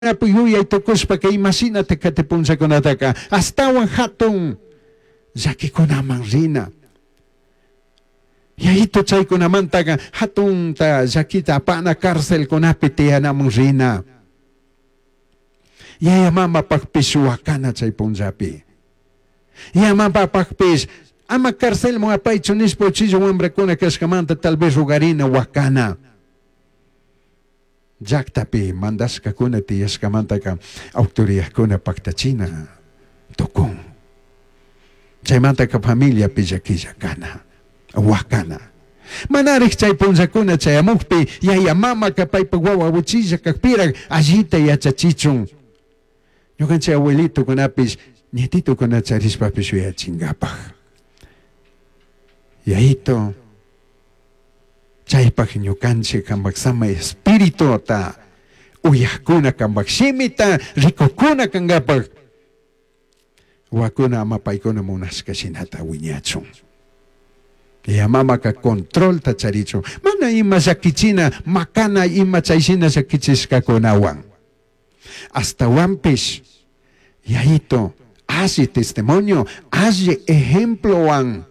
Yuyai tucushpaca imashinata cati punllacunataca ashtahuan jatun llaquicunaman rina. Yayitu chaicunamantaca jatunta llaquita apana carcelcunapi tiyanaman rina. Yaya mamapajpish huacana chai punllapi. Yaya mamapajpish ama carcelman apaichu nishpa uchilla huambracuna cashcamanta tal vez rogarina huacana. Llajtapi mandashcacuna tiyashcamantaca autoridadcuna pajtachina tucun. Chaimantaca familiapi llaquilla cana, huacana. Manarij chai punllacuna chayamujpi yaya mamaca paipaj huahua uchilla cajpiraj allita yachachichun. Ñucanchij abuelitocunapish, nietitocuna charishpapish yuyachingapaj. Yayito, Chaypaj ñucanchij cambaj Samai Espirituta uyajcuna cambaj shimita ricujcuna cangapaj huacuna ama paicuna munashca shinata huiñachun. Yaya mamaca controlta charichun, mana ima llaquichina, macana ima chai shina llaquichishcacunahuan. Ashtahuanpish Yayito alli testimonio, alli ejemplohuan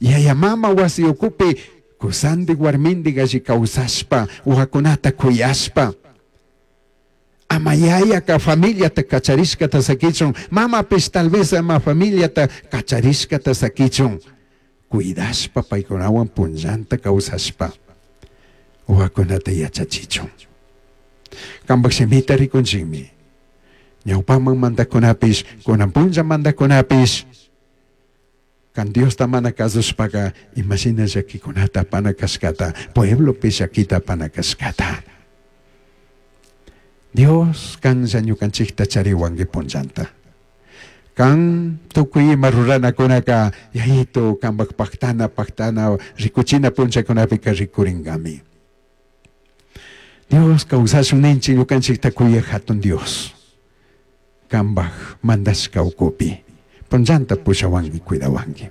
Yaya mama huasi ucupi cusandij huarmindij alli causashpa, huacunata cuyashpa, ama yayaca familiata cacharishcata saquichun, mamapish tal vez ama familiata cacharishcata saquichun, cuidashpa paicunahuan punllanta causashpa huacunata yachachichun. Cambaj shimita ricunchijmi. Ñaupaman mandajcunapish, cunan punlla mandajcunapish, Can Diosta mana cazushpaca ima shina llaquicunata apana cashcata, pueblopi llaquita apana cashcata. Dios canlla ñucanchijta charihuangui punllanta. Can tucui ima ruranacunaca Yayito cambaj pajtana pajtana ricuchina punllacunapica ricuringami. Dios causashun ninchij ñucanchijta cuyaj jatun Dios. Cambaj mandashca ucupi punllanta pushahuangui, cuidahuangui.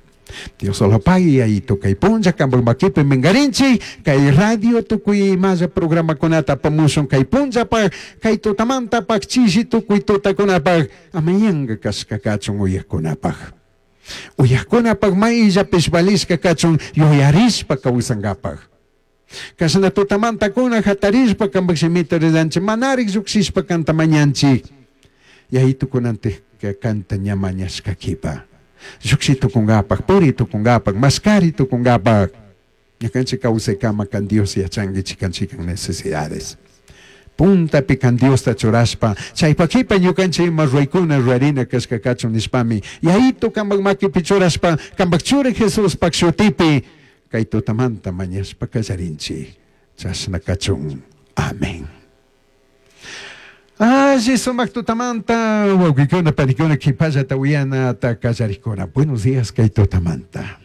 Diosolopagui Yayito cai punlla cambaj maquipi mingarinchij, cai radio tucui imalla programacunata apamushun cai punllapaj, cai tutamantapaj, chishi tucui tutacunapaj, ama yanga cashca cachun uyajcunapaj. Uyajcunapaj maillapish valishca cachun yuyarishpa causangapaj. Cashna tutamantacuna jatarishpa cambaj shimita rillanchij, manarij llujshishpa canta mañanchij. Yayitu cunantijca canta ña mañashca quipa, llujshi tucungapaj, puri tucungapaj, mascari tucungapaj, ñucanchij causaicama can Dios yachangui chican chican necesidades. Puntapi can Diosta churashpa, chaipa quipa ñucanchij ima ruraicuna rurarina cashca cachun nishpami, Yayitu cambaj maquipi churashpa, cambaj Churi Jesuspaj shutipi Cai tutamanta mañashpa callarinchij. Chashna cachun. Amén. Alli sumac tutamanta, huauquicuna, panicuna, quipallata uyanata callarijcuna. Buenos días cai tutamanta.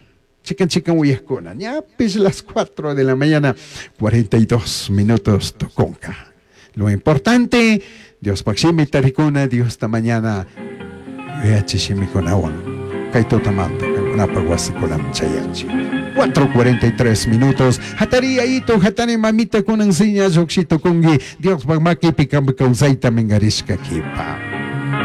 Chican chican uyajcuna. Ñapish las 4 de la mañana, 42 minutos tucunca. Lo importante, Diospaj shimita ricuna, Diosta mañana yuyachi shimikunawan kay tutamanta kankunapaj wasikunaman chayanchik. 4:43 minutos. Hatari yayito, hatari mamita kunan seña llujshi tucungui, Diospaj maquipi kampak kawsayta minkarishka kipa.